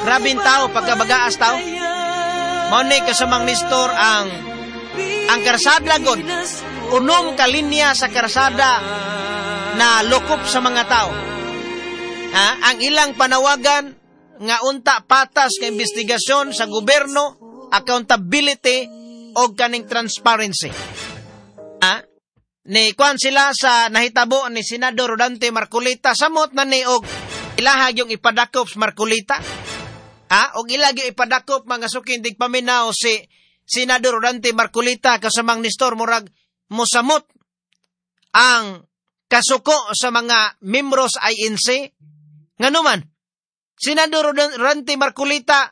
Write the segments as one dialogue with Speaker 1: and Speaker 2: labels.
Speaker 1: Grabing tao pagkabagaas tao. Mao ni kasamang Nestor ang karsada god. Unom ka linya sa karsada na lokop sa mga tao. Ha? Ang ilang panawagan nga unta patas nga investigasyon sa gobyerno, accountability o kaning transparency. Ha? Ni kuan sila sa nahitabo ni Senador Rodante Marcoleta, samot na ni og ilahag yung ipadakop sa Marcoleta. Ha? Og ilag yung ipadakop mga suking tigpaminaw si Senador Rodante Marcoleta kasamang Nestor, murag mosamot ang kasuko sa mga membros INC. Nganuman, Senador Rodante Marcoleta,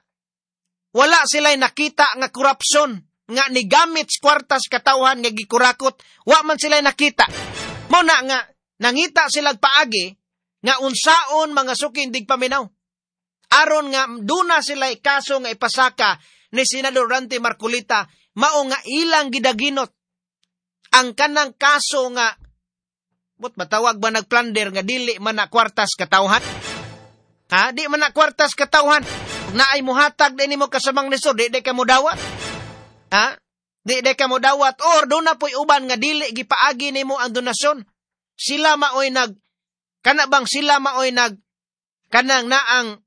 Speaker 1: wala sila'y nakita nga korupsyon nga nigamit sa kwartas katawhan nga gikurakot, wa man sila'y nakita. Mao na nga nangita silag paagi nga unsaon mga suking digpaminaw. Aron nga duna sila'y kaso nga ipasaka ni Senador Rodante Marcoleta, mao nga ilang gidaginot ang kanang kaso nga but matawag ba nagplunder nga dili man na kwartas katawhan? Ha? Di man na kwartas katawhan. Naay muhatag din nimo kasamang Nestor, di ka mo dawat. Ha? Di ka mo dawat or doon na po'y uban nga dili gipaagi nimo ang donasyon. Sila maoy nag kana bang sila maoy nag kanang naang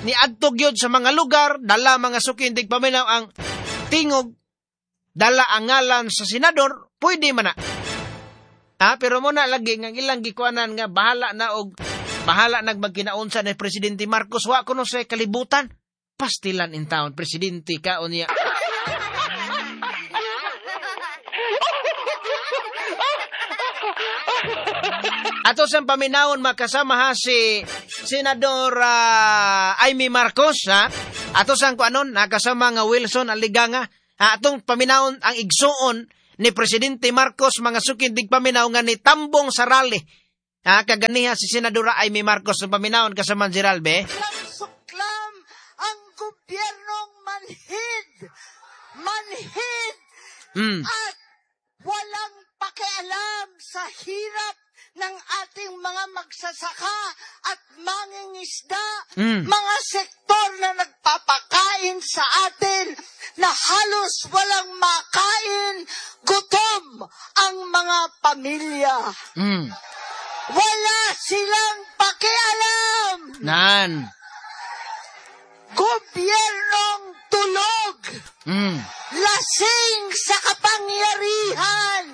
Speaker 1: ni adto gyud sa mga lugar, dala mga suking tigpaminaw ang tingog, dala ang ngalan sa senador, pwede man na. Ha, pero mo na lagi nga ilang gikuanan nga bahala na og bahala nagmagkinaunsa ni Presidente Marcos, wa kuno sa kalibutan. Pastilan in town, presidente ka unya. Ato sang paminawon makasama ha si Senador Amy Marcos ha. Ato sang kuanon nakasama nga Wilson Aliganga. Ha, atong paminawon ang igsuon ni Presidente Marcos mga suking digpaminaw nga ni tambong sa rally. Ha, kaganiha si Senadora Amy Marcos ang paminawon kasama si Ralbe.
Speaker 2: Suklam ang gobyernong manhid. Manhid at walang pakialam sa hirap ng ating mga magsasaka at mangingisda, mga sektor na nagpapakain sa atin na halos walang makain, gutom ang mga pamilya. Wala silang pakialam.
Speaker 1: Nan.
Speaker 2: Gobyernong tulog. Lasing sa kapangyarihan.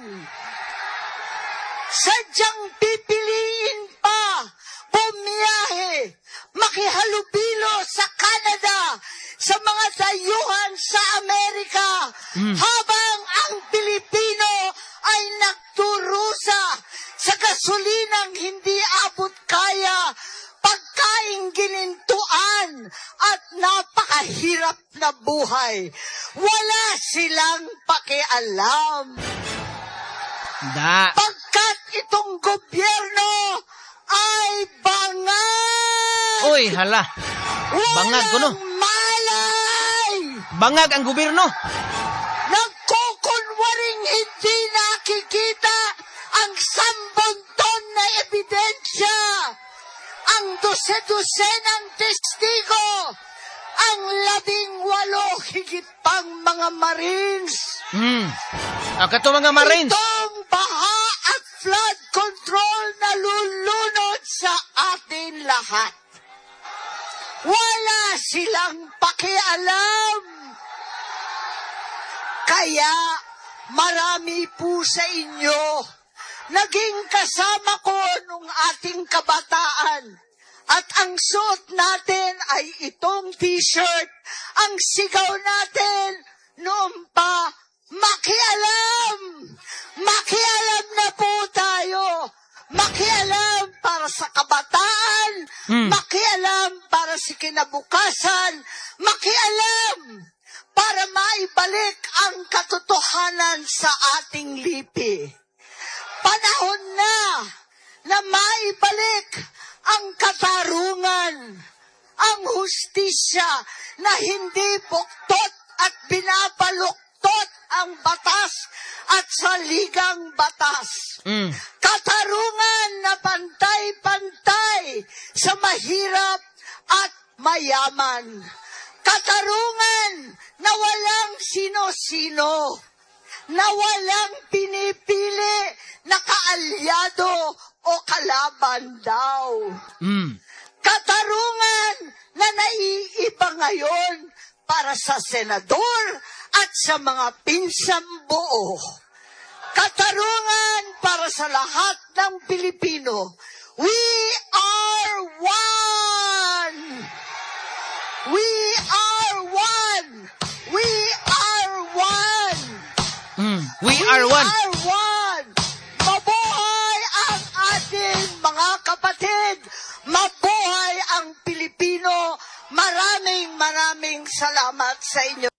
Speaker 2: Sadyang pipiliin pa, bumiyahe, makihalubilo sa Canada, sa mga dayuhan sa Amerika, habang ang Pilipino ay nagturusa sa gasolinang hindi abot kaya, pagkain ginintuan, at napakahirap na buhay. Wala silang pakialam.
Speaker 1: Da.
Speaker 2: Pagkat itong gobyerno ay bangag!
Speaker 1: Uy, hala. Bangag kuno.
Speaker 2: Walang malay!
Speaker 1: Bangag ang gobyerno.
Speaker 2: Nagkukunwaring hindi nakikita ang sambonton na ebidensya, ang dose-dosenang testigo, ang 18 higit pang mga Marines.
Speaker 1: Kato mga Marines.
Speaker 2: Itong baha at flood control na lulunod sa atin lahat. Wala silang pakialam. Kaya marami po sa inyo naging kasama ko nung ating kabataan. At ang suot natin ay itong t-shirt. Ang sigaw natin noon pa, makialam! Makialam na po tayo! Makialam para sa kabataan, makialam para sa kinabukasan, makialam para maibalik ang katotohanan sa ating lipi. Panahon na na maibalik ang katarungan, ang hustisya na hindi buktot at binabaluktot ang batas at saligang batas. Katarungan na pantay-pantay sa mahirap at mayaman. Katarungan na walang sino-sino, na walang pinipili na kaalyado o kalaban daw. Katarungan na naiiba ngayon para sa senador at sa mga pinsang buo. Katarungan para sa lahat ng Pilipino. We are one! We are one! We are one!
Speaker 1: We are one.
Speaker 2: We are one! Mabuhay ang ating mga kapatid! Mabuhay ang Pilipino! Maraming maraming salamat sa inyo.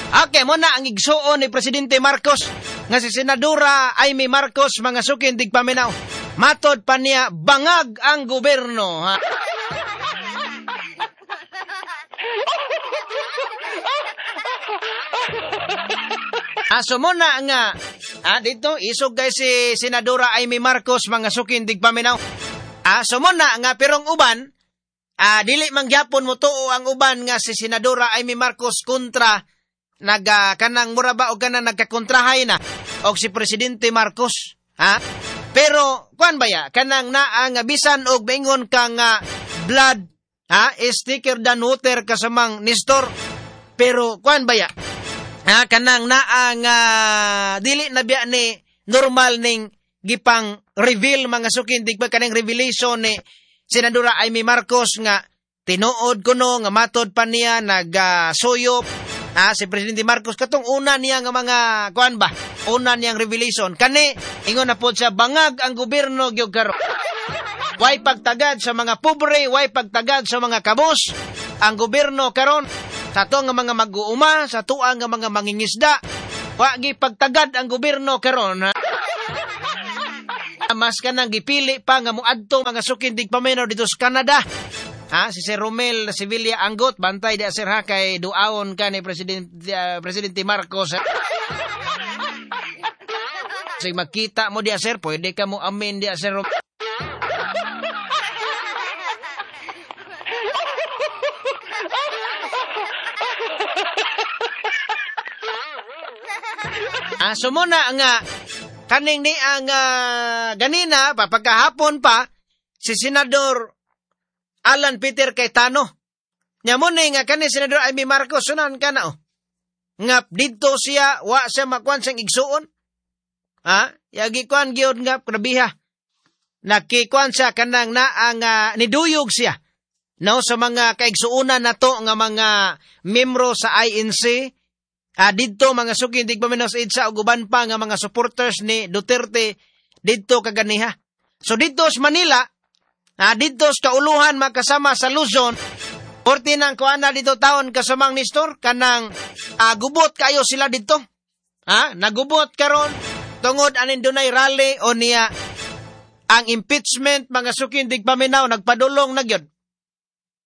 Speaker 1: Okay, muna ang igsuon ni Presidente Marcos nga si Senadora Imee Marcos, mga sukin tigpaminaw. Matod pa niya, bangag ang gobyerno. Ha? So muna nga, dito, isog kay si Senadora Imee Marcos, mga sukin tigpaminaw. So muna nga, perong uban, dili mangyapon mo tuo ang uban nga si Senadora Imee Marcos kontra naga kanang mura ba o kanang nagkakontrahay na og si Presidente Marcos, ha? Pero kuan ba ya kanang naa nga bisan og maingon ka nga blood, ha, is thicker than water kasamang Nestor, pero kuan ba ya, ha, kanang naa nga dili na biya ni normal ning gipang reveal mga sukin di ba kanang revelation ni Senadora Imee Marcos nga tinuod kuno nga matod pa niya nagsuyop si Presidente Marcos katong una niya nga mga kuan ba, una niyang revelation kani ingon na pod siya bangag ang gobyerno gyud karon. Way pagtagad sa mga pobre, way pagtagad sa mga kabos ang gobyerno karon sa ato nga mga mag-uuma, sa tuang nga mga mangingisda, wa gi pagtagad ang gobyerno karon. Mas kanang gipili pa nga moadto mga sukin tigpaminaw dito sa Canada. Ha, si Sir Romel Sevilla Anggot, bantay di sir ha kay duaon ka ni Presidente Marcos. Ha? Sige, makita mo di sir, pwede ka mo amin di sir. So muna nga kaning ni ang ganina pa pagkahapon pa si Senador Alan Peter Cayetano. Nya mo ni nga kani Senador Imee Marcos sunan ka na oh. Nga didto siya wa siya makuan siyang igsuon. Ha? Yagi kuan gyud nga grabiha. Nakikuan siya kanang naa nga niduyog siya. No sa mga kaigsuonan nato nga mga membro sa INC. Didto mga suki hindi pa minus EDSA ug uban pa nga mga supporters ni Duterte didto kaganiha. So didto sa Manila, didto sa kauluhan makasama sa Luzon, porti nang kuana dito taon kasamang Nestor kanang gubot kayo sila didto. Ha? Nagubot karon tungod anin dunay rally o niya ang impeachment mga suki hindi pa minaw nagpadulong na gyud.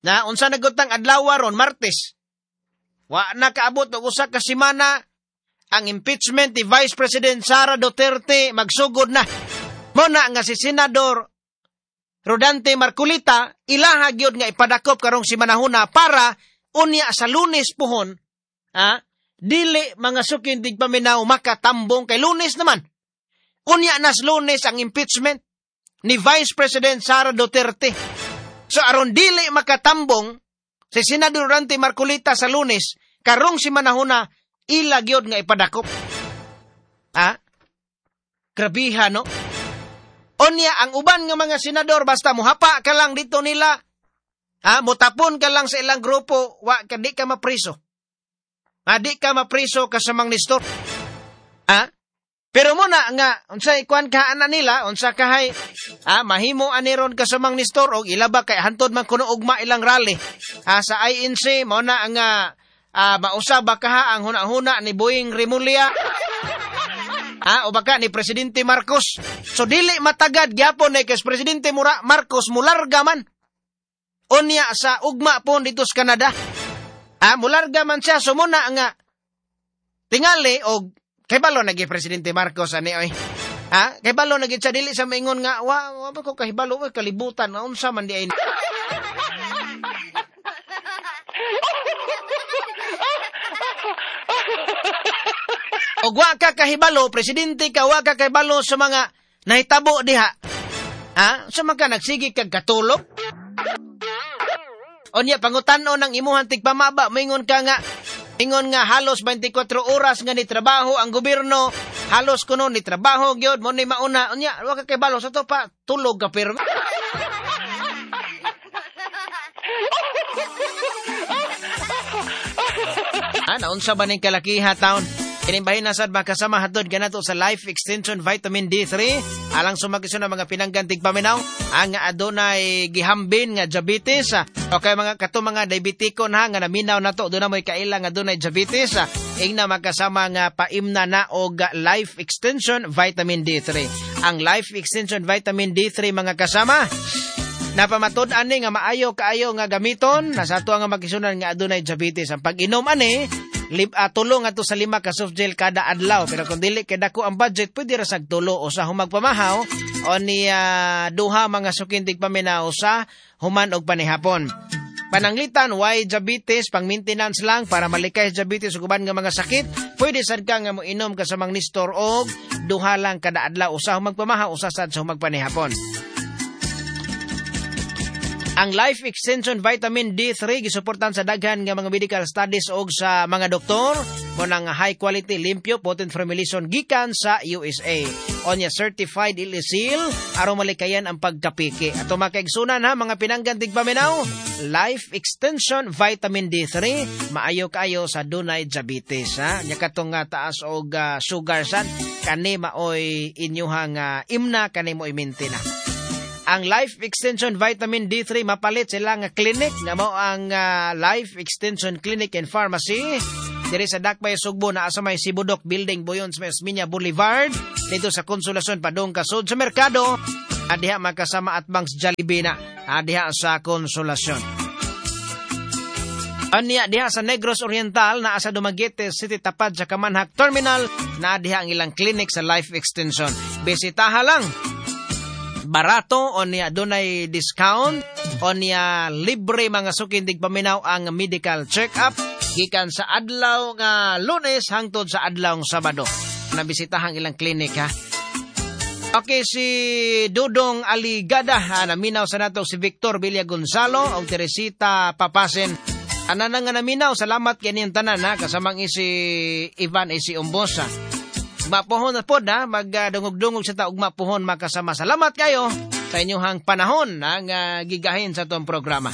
Speaker 1: Na unsa nagutang adlaw ron Martes. Wa nakaabot og usa ka semana ang impeachment ni Vice President Sara Duterte magsugod na. Muna nga si Senador Rodante Marcoleta ilaha gyud nga ipadakop karong simanahuna para unya sa Lunes puhon, ha, dili mga sukin tigpaminaw makatambong kay Lunes naman. Unya nas Lunes ang impeachment ni Vice President Sara Duterte. So aron dili makatambong si Senador Rodante Marcoleta sa Lunes, karong si manahuna, ila gyud nga ipadakop. Ha? Grabiha, no? Onya, ang uban nga mga senador, basta muhapa ka lang dito nila, ha? Mutapon ka lang sa ilang grupo, wa, ka, di ka mapriso. Ha? Di ka mapriso kasamang Nestor. Ha? Pero muna nga, unsay kuan ka ana nila, unsa kahay, mahimo aniron kasamang Nestor, og ilaba kay hantod man kuno ugma ilang rally. Sa INC, mao na nga mausab ba kaha ang huna-huna ni Boying Remulla, o baka ni Presidente Marcos. So dili matagad gyapon eh, kay Presidente Marcos mularga man. Unya sa ugma pon dito sa Canada. Mularga man siya, so muna nga tingali og kay balo nagi Presidente Marcos ani oy. Ha? Kay balo nagi siya dili sa maingon nga wa ko kahibalo oy kalibutan unsa man di ay. Og wa ka kahibalo, presidente ka, wa ka kahibalo sa mga nahitabo diha. Ha? Sa man ka nagsige kag katulog? Unya pangutan-on ang imuhang tigpamaba, moingon ka nga ingon nga halos 24 oras nga ni trabaho ang gobyerno, halos kuno ni trabaho gyud mo ni mauna. Unya wa ka kahibalo sa to pa tulog ka pirmi. Ah, naunsa ba ning kalakiha taon? Kining bahin na sad makasama hatod kanato sa Life Extension Vitamin D3 alang sumagisyon ang mga pinanggan tigpaminaw ang adunay gihambin nga diabetes. Okay mga kato mga diabetikon ha nga naminaw nato doon na mo'y kaila nga adunay diabetes. Ingna makasama nga paimna na og Life Extension Vitamin D3. Ang Life Extension Vitamin D3 mga kasama, napamatud ani nga maayo kaayo nga gamiton nasa ato nga magisunan nga adunay diabetes. Ang pag-inom ani tulo ngadto sa 5 ka soft gel kada adlaw, pero kung dili kay dako ang budget pwede ra sag tulo o sa humagpamahaw o ni duha mga sukin tigpaminaw sa human og panihapon. Pananglitan why diabetes, pang maintenance lang para malikay sa diabetes ug uban nga mga sakit, pwede sad ka nga moinom ka sa mang Nestor og duha lang kada adlaw, usa humagpamahaw, usa sad sa humagpanihapon. Ang Life Extension Vitamin D3 gisuportan sa daghan nga mga medical studies og sa mga doktor mo nang high quality, limpyo, potent formulation gikan sa USA. Onya certified seal aron malikayan ang pagkapiki. Ato makaigsunan ha mga pinanggan tigpaminaw, Life Extension Vitamin D3 maayo kaayo sa dunay diabetes ha. Nya katong nga taas og sugar sad kani maoy inyuhang imna kani mo imintina. Ang Life Extension Vitamin D3 mapalit sila nga clinic nga mao ang Life Extension Clinic and Pharmacy diri sa Dakbay Sugbo naa sa may Sibudok Building buyon sa may Osmeña Boulevard dito sa Consolacion padung kasud sa merkado diha makasama at bangs Jollibee na diha sa Consolacion. Anya diha sa Negros Oriental naa sa Dumaguete City tapad sa Kamanhak Terminal na diha ang ilang clinic sa Life Extension. Bisitaha lang. Barato o niya dunay discount o niya libre mga sukin tigpaminaw ang medical check-up gikan sa adlaw nga Lunes hangtod sa adlaw nga Sabado. Nabisitahan ilang clinic ha. Okay, si Dudong Aligada ha, naminaw sa nato si Victor Villa Gonzalo og Teresita Papasen. Ana nga naminaw, salamat kaniyang tanan ha, kasamang isi Ivan isi Umbosa. Mapuhon na pod ha, magdungog-dungog sa taog mapuhon makasama. Salamat kayo sa inyong panahon ang gigahin sa itong programa.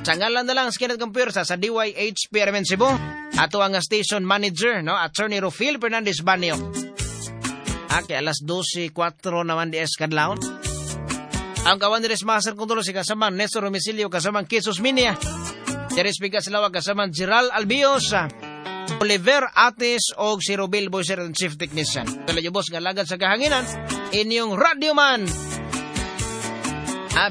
Speaker 1: Sa ngalan na lang sa Kenneth Computer sa DYHP RMN Cebu, ato ang station manager, no, Attorney Rufil Fernandez Banyo. Okay, alas 12:04 naman di kadlawon. Ang kawan ni Master Control si kasamang Nestor Romicilio, kasamang Kisos Minia. Teres Bigas Lawa, kasamang Gerald Albios, Oliver Atis og si Rubil Boyser and Chief Technician. Tuloy boss nga lagad sa kahanginan, inyong radyoman.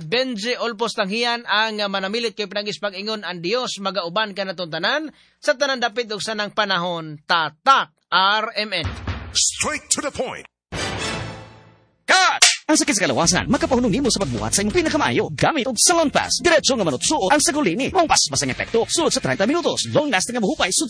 Speaker 1: Benji Olpos Tanghian ang manamilit kay pinagis pag-ingon ang Dios magauban ka natong tanan sa tanan dapit og sanang panahon. Tatak RMN.
Speaker 3: Straight to the point.
Speaker 1: Cut!
Speaker 4: Ang sakit sa kalawasan, makapahunong nimo sa pagbuhat sa imong pinakamaayo. Gamit og Salon Pass. Diretso nga manutsuot ang sagulini. Maong paspas ang epekto. Sulod sa 30 minutos. Long lasting nga mahupay sud